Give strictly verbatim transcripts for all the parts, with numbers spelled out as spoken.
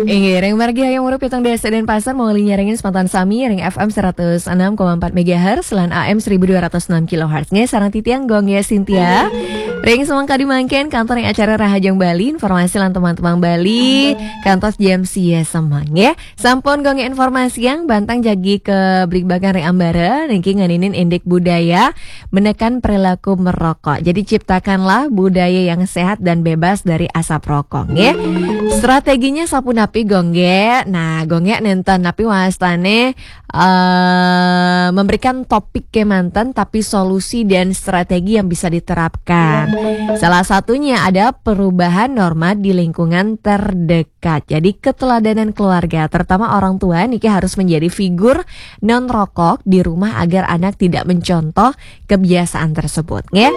Inggih, ring margi hayang murup pitung dasa Denpasar, manguli nyarengin semeton sami ring F M seratus enam koma empat megahertz lan A M seribu dua ratus enam kilohertz. Nggih, sareng titiang Gonggé Cynthia. Ring semeng kadi mangkin, kantun ring acara Rahajeng Bali, informasi lan tembang-tembang Bali, kantos jam sia semeng, nggih. Sampun Gonggé informasiang, bantang jagi kabligbagan ring ambara, niki ngeninin indik budaya menekan perilaku merokok. Jadi ciptakanlah budaya yang sehat dan bebas dari asap rokok, nggih. Strateginya sapunapi, Gonggé? Nah, Gonggé nénten napi wastane eh, memberikan topik kemanten, tapi solusi dan strategi yang bisa diterapkan. Salah satunya ada perubahan norma di lingkungan terdekat. Jadi keteladanan keluarga, terutama orang tua, niki harus menjadi figur non rokok di rumah agar anak tidak mencontoh kebiasaan tersebut, nggih.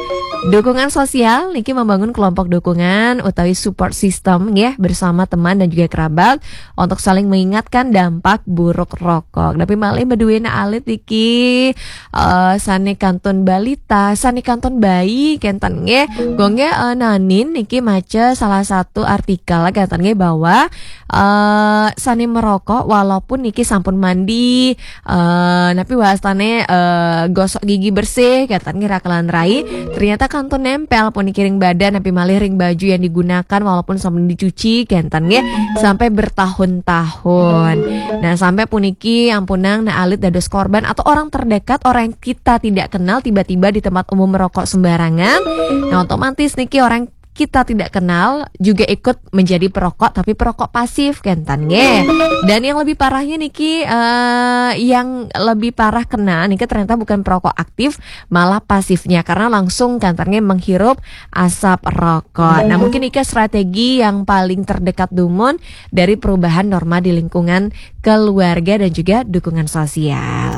Dukungan sosial niki membangun kelompok dukungan utawi support system, nggih, bersama teman dan juga kerabat untuk saling mengingatkan dampak buruk rokok. Tapi malih beduena alit niki eh, sane kantun balita, sane kantun bayi kenten, nggih. Gonggé eh, nanin niki maca salah satu artikel kenten, nggih, bahwa eh sane merokok walaupun niki sampun mandi, eh napi wastane eh gosok gigi bersih kenten, nggih, rakelan rai, ternyata kantun nempel puniki ring badan napi malih ring baju yang digunakan walaupun sampun dicuci kenten, nggih, sampai bertahun-tahun. Nah, sampai puniki ampunang nah alit dados korban atau orang terdekat, orang yang kita tidak kenal tiba-tiba di tempat umum merokok sembarangan. Nah, otomatis niki orang kita tidak kenal juga ikut menjadi perokok, tapi perokok pasif kenten, nggih. Dan yang lebih parahnya niki eh, yang lebih parah kena niki ternyata bukan perokok aktif, malah pasifnya karena langsung kenten, nggih, menghirup asap rokok. Nah, mungkin niki strategi yang paling terdekat dumun dari perubahan norma di lingkungan keluarga dan juga dukungan sosial.